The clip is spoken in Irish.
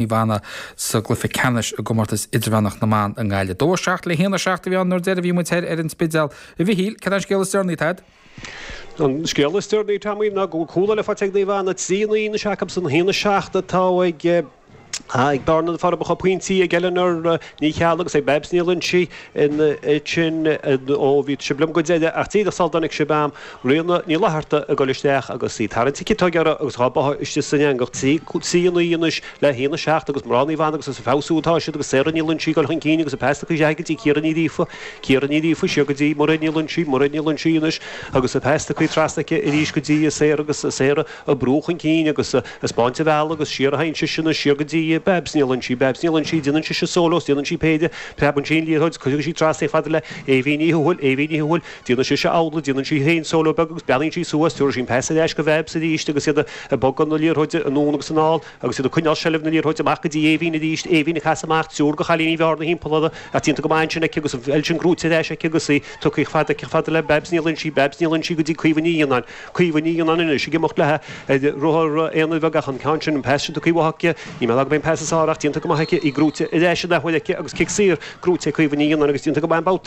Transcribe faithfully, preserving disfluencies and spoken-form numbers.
Naomh Anna sa gcluiche ceannais i gcomórtas idirmheánach na mban i nGaillimh. Dó seacht le haon a seacht a bhí ann nuair deireadh bhí muid ar an Spidéal. A Mhichíl, cad é an scéal is deireanaí Tad? An scéal is deireanaí Tommy ná go cúl eile faighte ag Naomh Anna trí naoi anois acu san haon a seacht atá ag ag bearna na Forbacha pointí ag Eleanor Ní Cheallaigh agus ag Babs Ní Loinsigh in sin ó bhí sibh liom go deireadh ach díreach sula dtáinig sibh am Ríona Ní Fhlatharta ag dul isteach agus í tarraingthe ciotóg uirthi agus dhá báthadh istigh san eangach trí trí naoi anois le haon a seacht agus mná Naomh Anna agus is ag feabhsú atá siad agus Sarah Ní Loinsigh ag dul chun cinn agus an pas tugtha isteach go dtí Ciara Ní Ghríofa Ciara Ní Ghríofa siar go dtí Mairéad Ní Loinsigh Mairéad Ní Loinsigh anois agus an pas tugtha trasna aici arís go dtí Sarah agus Sarah ag brú chun cinn agus ag spáint an bhealaigh agus siar a théann sise anois siar go dtí Babs Ní Loinsigh Babs Ní Loinsigh déanann sise solo déanann sí péire preabann sí an liathróid cuireann sí trasna fada le Éibhín Ní Thuathail Éibhín Ní Thuathail déanann sise amhlaidh déanann sí féin solo beag agus breathnaíonn sí suas tabharfaidh sí an pas ar ais go Babs arís agus iad ag bogadh na liathróide anonn agus anall agus iad ag coinneáil seilbh na liathróide amach go dtí Éibhín arís Éibhín ag casadh amach triúr de chailíní Bhearna thimpeall uirthi ach déanta go maith ansin aici agus an pheil sin gnóite ar ais aici agus í tugtha fada aici fada le Babs Ní Loinsigh Babs Ní Loinsigh go dtí Caoimhe Ní Fhíonáin Caoimhe Ní Fhíonáin anois ag imeacht léi ar rothar aonair bheag ach an ceann sin an pas sin tugtha uaithi aici ní mé go an pas is fearr ach déanta go maith aici í gnóite ar ais an athuair aici agus cic saor gnóite Caoimhe Ní Fhíonáin agus déanta go maith an babhta